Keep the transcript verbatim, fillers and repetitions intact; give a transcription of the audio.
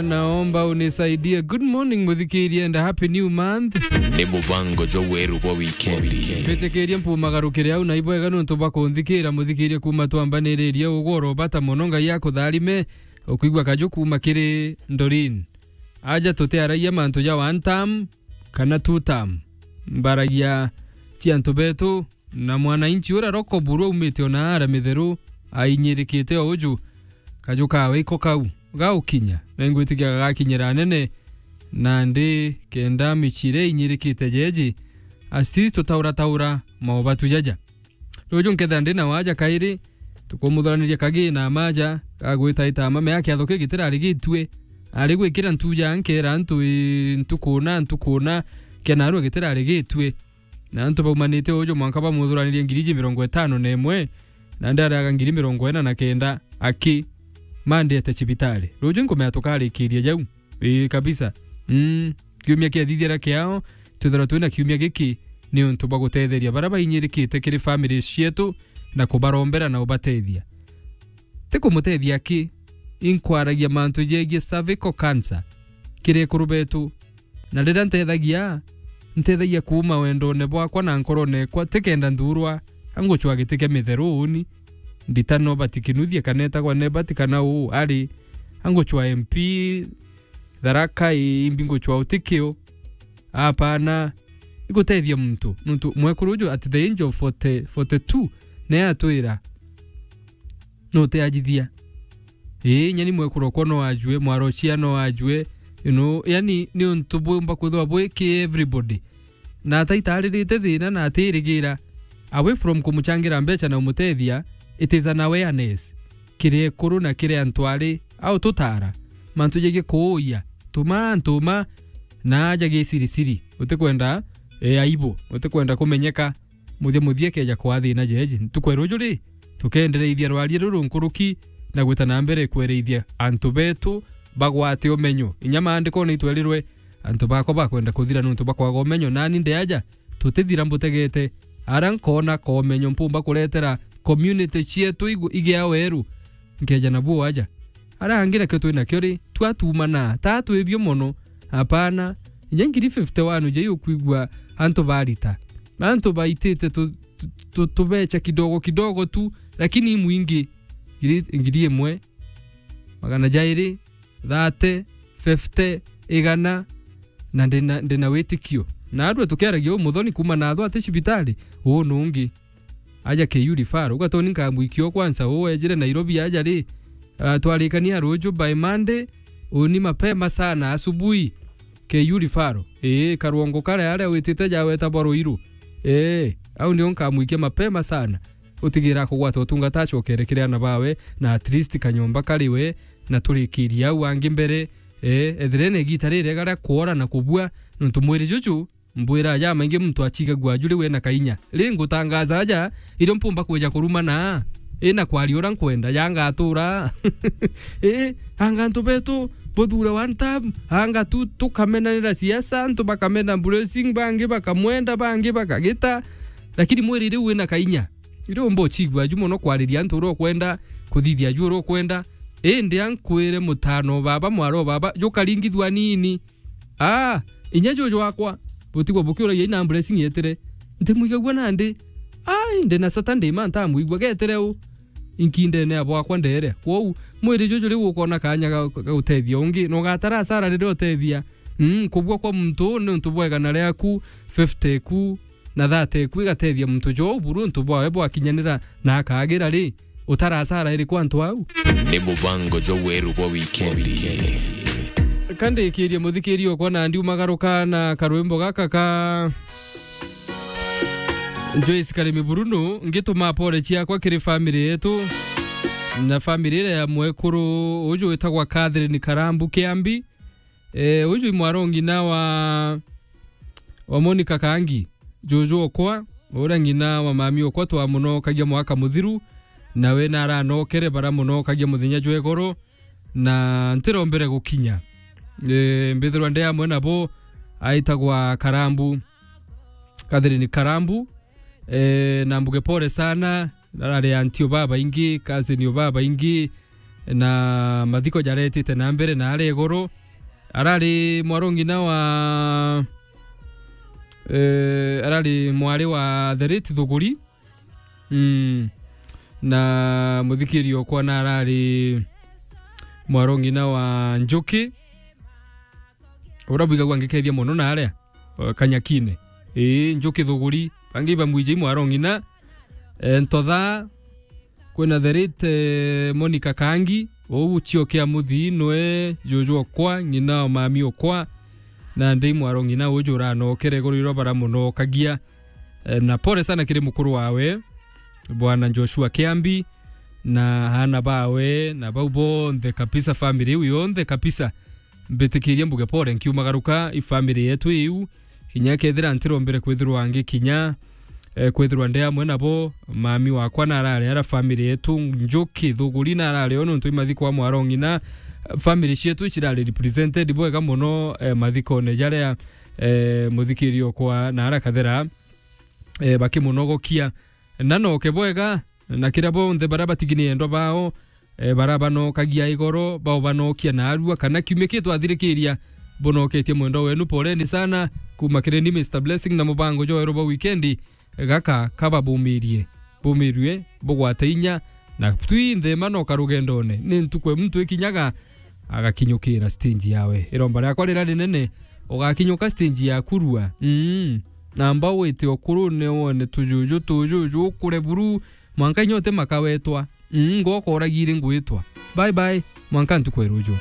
Naomba unisaidie. Good morning, muthikiria, and a happy new month. Ni mubango jwa weru bwa wikendi. Mbitikirie mpumagarukire au na ibwega nontu bwa kunthikira, muthikirie kuma twambaniririe ugoro bata mono. Ngai akutharime, ukwigua kaju kuma kiri Doreen. Aja tutiaragia mantu ja one term kana two term. Mbaragia cia antu betu, na mwananchi uria roko buru aumite ona ara mitheru ainyirikite o uju, kaju kawe iko kau gaukinya, na ingwitikia gagakinyira anene, nandi kenda michire inyirikite jeji, asi tutaura taura maubatu jaja. Ruju nkethira ndi na waja kairi, tukumuthuraniria kagi na maja, gagwitaita mame ya kiatho ki gitirari gitue. Ari gwikira ntuja nkera antu, ii, ntukuna, ntukuna, kia narua gitirari gitue. Na antu baumanite uju mwanka bamuthuranirie ngiri iji mirongo itano na imwe, na ndariaga ngiri mirongo ina na kenda aki mandiete cibitari. Ruju nkumea tukarikiria jau. Ii, kabisa. Mm, kiumia kiathithira kiao, twithirwa twina kiumia giki ni untu bwa gutetheria baria bainyirikite kiri family cietu na kubarombera na ubatethia. Ti kumutethia ki, inkwaragia mantu jegie cervical cancer kiri ekuru betu. Na riria ntethagia, ntethagia kuuma wendone bwakwa na nkorone ekwa, tikenda nthurwa, angucwa giti kia mitheru uni, ndita no batikinuthie kana etagwa Nebati kana uu ari, angucwa M P, Tharaka, ii, imbi ngucwa utikio. Apana, igutethia muntu. Nuntu mwekuru uju at the age of forty, forty-two, ne atwira, no te ajithia. Ii, nyani mwekuru okwa no ajue, mwaro cia no ajue, you know, yani, ni untu bumba kwithwa bwi ki everybody. Na ataitaririte thina na atirigira, away from kumuchangira mbeca na umutethia, it is an awareness kiri ekuru na kiri antu ari au tutara mantu jegie kuuya, tuma antu ma na aja gisirisiri, utikwenda, e, aibu, utikwenda kumenyeka. Muthia muthia keja kwa thina jeji. Ntuku ya ruju ri, tukendereithia rwaria ruru nkuruki na gwita na mbere kwereithia antu betu bagwate umenyo. Inya maandikone itwerirwe, antu bakwa bakwenda kuthira nuntu bakwaga umenyo, nani ndi aja, tutithira mbutegete. Ara nkona komenyo mpumba kuretera community cietu igu-, igia weru, nkeja nabuo aja. Ara angi nakio twinakio ri, twatumana, ta twibio mono. Apana, inya ngiri fifty-one uja iukwigua antu barita. Antu baitite tu-, tu-, tu-, tubecha kidogo kidogo tu, lakini imwingi. Ngiri, ngiri imwe, magana jairi, thirty, fifty, igana, na ndina, ndina witikio. Na arua tukiaragia umuthoni kuma na atho ati cibitari, uu nungi. Aja K U referral. Ugatoni nkamwikia o kwanza, uu ejire Nairobi aja ri, ah, twarikania ruju by Monday, uni mapema sana asubuhi. K U referral. Ii, karwongo karia aria witite jaweta bwa Ruiru. Ii, au nio nkamwikia mapema sana. Utigira kugwata utungata acokere kiri ana bawe, na at least kanyomba kari we, na turikirie au angi mbere. Ii, ethire ni igita ririega ria kwora na kubua, nontu mwiri juju mbwira jamaingi muntu achigagua aju riu ena kainya. Ri ngutangaza aja, irio mpumba kwija kurumana, ina kwaria uria nkwenda, yangatura. Ii, anga antu betu, buthure one term, anga tu, tukamenanira siasa, antu bakamena Blessing, bangi bakamwenda, bangi bakagita. Lakini mwiri riu wina kainya. Irio umba uchigua aju mono kwariria antu uria ukwenda, kuthithia aju uria ukwenda. Indi ankwire mutano baba, mwaro baba, jukaringithua nini. Ah, inya juju wakwa, butigwa bukiuragia ina Blessing yetire. Ntimwigagua nandi. Ai, ndi na Saturday ma ntamwigua getire u. Inkindene ya bwakwa ndere. Kwou, mwiri juju riu ukona kanya ga, ga gutethia ungi, na ugatara asara riria utethia. Mm, kubua kwa muntu uu ni untu bwa igana riaku, fifty ku, na thirty ku igatethia muntu jou buru untu bwawe bwakinyanira na akagira ri, utara asara iriku antu au? Ni mubango jwa weru bwa wikendi. Kandikirie muthikiria okwa na ndiumagaruka na karwimbo gaka ka Joyce Karimi Bruno, ngituma pole ciakwa kiri family yetu na family iria ya mwekuru uju witagwa Catherine Karambu Kiambi. Eh, uju i mwaro ngina wa, wa Monica Kangi, juju okwa, uria ngina wa mami okwa twamunokagia mwaka muthiru, nawe naranokere baramunokagia muthenya jwa igoro, na ntirombere gukinya. Eh, mbithirwa ndi amwe nabo, aitagwa Karambu, Catherine Karambu. Eh, na mbuge pole sana, arari auntie o babaingi, cousin o babaingi, na mathiko jaretite na mbere na aria iguru. Arari mwarongina wa, eh, arari mwari wa the late Thuguri. Mm. Na muthikiri okwa na arari mwarongina wa Njuki. Ura bwigagua ngikethia mono na aria, eh, Kanyakine. Ii, Njuki Thuguri. Bangi bamwiji mwarongina. Eh, Ntotha, kwina the late, eh, Monica Kangi. Uu cio kia muthii nwe juju okwa, ng'ina o mami okwa. Na ndi mwarongina uju uranokere iguru iro baramunokagia. Eh, na pole sana kiri mukuru wawe, Bwana Joshua Kiambi, na aana bawe, na bau bonthe kabisa, family iu yonthe kabisa. Mbitikirie mbuge pole nkiumagaruka, i family yetu iu, kinya kethira ntirombere kwithirwa ngikinya, eh, kwithirwa ndi amwe nabo, mami wakwa na arari ara family yetu, Njuki Thuguri na arari o nontu imathiko a mwarong'ina, family cietu icirari represented bwega mono, eh, mathikone jaria, eh, muthikiri okwa na ara kathera, eh, bakimunogokia. Na noke bwega, na kiria bonthe baria batigini endwa bao, eh, baria banokagia igoro, bao banokia naarua, kana kiumia kii twathirikiria, bunoketie mwendwa wenu, poleni sana, kuuma kiri ni Mister Blessing na mubango jwa weru bwa wikendi, gaka kababumirie, bumirue, bugwate inya, na twinthe manoka rugendone. Ni ntuku e muntu ikinyaga, agakinyukira stage yawe. Iromba riakwa rira rinene, ugakinyuka stage ya kurua. Mm. Namba wite ukurune wone tujuju, tujuju, ukure buru, mwanka inya uti makawetwa. Mm, ngoko uragiri ngwitwa. Bye bye, mwanka ntuku ya ruju.